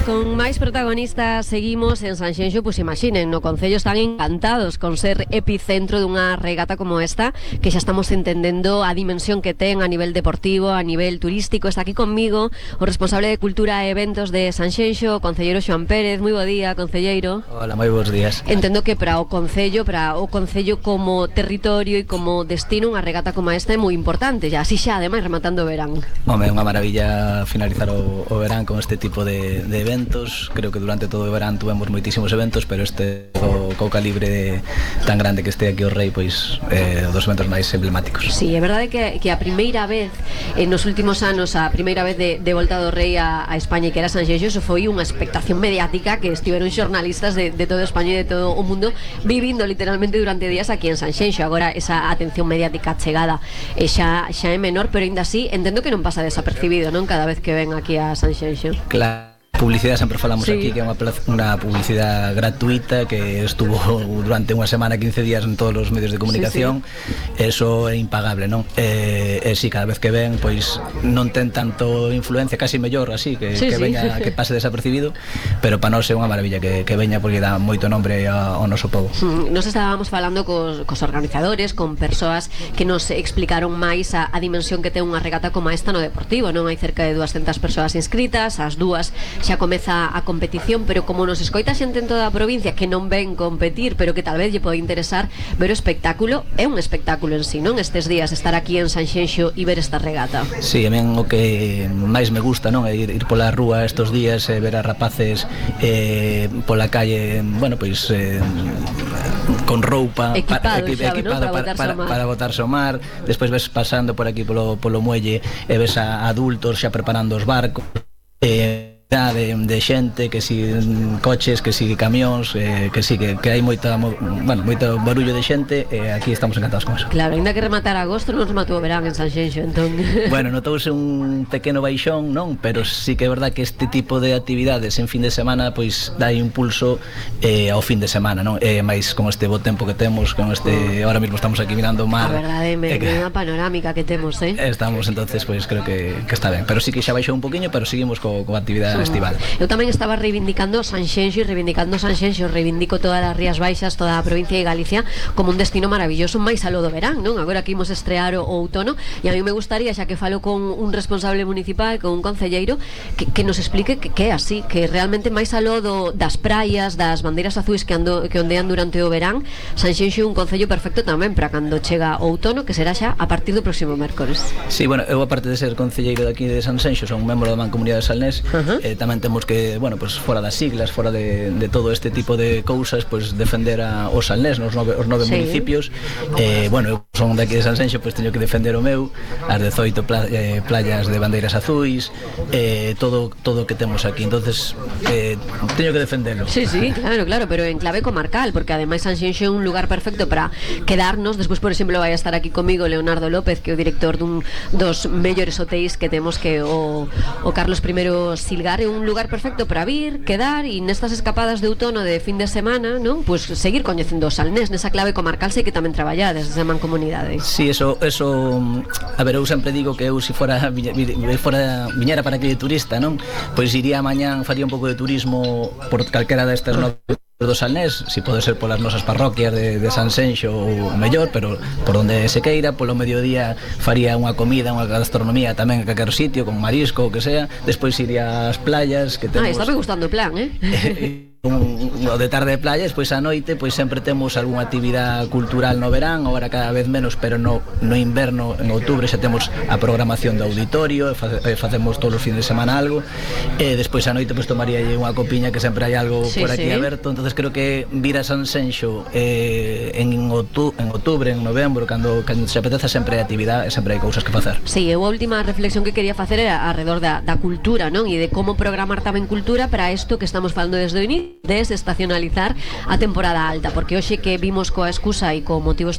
Con máis protagonistas seguimos en Sanxenxo, pois imaginen, no Concello están encantados con ser epicentro dunha regata como esta, que xa estamos entendendo a dimensión que ten a nivel deportivo, a nivel turístico. Está aquí conmigo o responsable de Cultura e Eventos de Sanxenxo, o concelleiro Xoán Pérez. Moi bo día, concelleiro. Hola, moi bons días. Entendo que para o Concello como territorio e como destino, unha regata como esta é moi importante, xa así xa, ademais, rematando o verán. Home, é unha maravilla finalizar o verán con este tipo de eventos. Creo que durante todo o verán tuvemos moitísimos eventos, pero este co calibre tan grande que este aquí o Rei, pois dos eventos máis emblemáticos. Sí, é verdade que a primeira vez nos últimos anos, a primeira vez de volta do Rei a España, que era Sanxenxo, eso foi unha expectación mediática que estiveron xornalistas de toda España e de todo o mundo vivindo literalmente durante días aquí en Sanxenxo. Agora esa atención mediática chegada xa é menor, pero ainda así entendo que non pasa desapercibido, non? Cada vez que ven aquí a Sanxenxo. Claro. Publicidade sempre falamos aquí, que é unha publicidade gratuita que estuvo durante unha semana, 15 días en todos os medios de comunicación. Eso é impagable, non? Si cada vez que ven, pois non ten tanto influencia, casi mellor así, que veña, que pase desapercibido, pero para nós é unha maravilla que veña, porque dá moito nombre ao noso povo. Nos estábamos falando cos organizadores, con persoas que nos explicaron máis a dimensión que ten unha regata como esta no deportivo, non? Hai cerca de 200 persoas inscritas, as dúas xa comeza a competición, pero como nos escoita xente en toda a provincia que non ven competir, pero que tal vez lle pode interesar ver o espectáculo, é un espectáculo en sí, non? Estes días estar aquí en Sanxenxo e ver esta regata. Sí, a min o que máis me gusta, non, é ir pola rúa estes días e ver a rapaces pola calle, bueno, pois con roupa equipada para botarse ao mar. Despois ves pasando por aquí polo muelle e ves a adultos xa preparando os barcos, de xente, que si coches, que si camións, que hai moito barullo de xente, e aquí estamos encantados con eso. Claro, ainda que rematar agosto non rematou o verán en Sanxenxo, entón. Bueno, notouse un pequeno baixón, non? Pero sí que é verdad que este tipo de actividades en fin de semana pois dá impulso ao fin de semana, non? Mais con este bo tempo que temos, con este, ahora mesmo estamos aquí mirando o mar. A verdade, unha panorámica que temos, Estamos, entonces, pois creo que está ben, pero sí que xa baixou un poquinho, pero seguimos coa actividade estival. Eu tamén estaba reivindicando Sanxenxo reivindico todas as Rías Baixas, toda a provincia de Galicia como un destino maravilloso máis aló do verán, non? Agora que imos estrear o outono, e a mí me gustaría, xa que falo con un responsable municipal, con un concelleiro, que nos explique que é así, que realmente máis aló das praias, das bandeiras azuis que ondean durante o verán, Sanxenxo é un concello perfecto tamén para cando chega o outono, que será xa a partir do próximo mércores. Sí, bueno, eu aparte de ser concelleiro de aquí de Sanxenxo, son un membro da Mancomunidade de Salnés, tamén temos que, bueno, pues fora das siglas, fora de todo este tipo de cousas, pues defender os salnés, os nove municipios. Bueno, eu son daqui de Sanxenxo, pues teño que defender o meu, as 18 playas de bandeiras azuis, todo o que temos aquí. Entonces, teño que defendelo. Sí, claro, pero en clave comarcal, porque ademais Sanxenxo é un lugar perfecto para quedarnos. Despois, por exemplo, vai a estar aquí comigo Leonardo López, que é o director dos mellores hotéis que temos, que o Carlos I Silgar. É un lugar perfecto para vir, quedar, e nestas escapadas de outono de fin de semana, non? Pois seguir coñecendo o Salnés nesa clave comarcal, sei que tamén traballades desde a Mancomunidade. Sí, eso, a ver, eu sempre digo que eu se viñera para aquí de turista, non? Pois iría mañán, faría un pouco de turismo por calquera destas do Salnés, si pode ser polas nosas parroquias de Sanxenxo ou mellor, pero por onde se queira. Polo mediodía faría unha comida, unha gastronomía tamén a calquer sitio, con marisco, o que sea. Despois iría ás playas que temos. Está me gustando o plan, de tarde de playa. Despois a noite pois sempre temos algunha actividade cultural no verán, agora cada vez menos, pero no inverno, en outubro xa temos a programación do auditorio, facemos todos os fines de semana algo, e despois a noite pois tomaría unha copiña, que sempre hai algo por aquí aberto. Entonces creo que vir a Sanxenxo en outubro, en novembro, cando se apeteza, sempre hai actividade, sempre hai cousas que facer. Sí, a última reflexión que quería facer era alrededor da cultura, non? E de como programar tamén cultura para isto que estamos falando desde o inicio, desestacionalizar a temporada alta, porque hoxe que vimos coa excusa e co motivo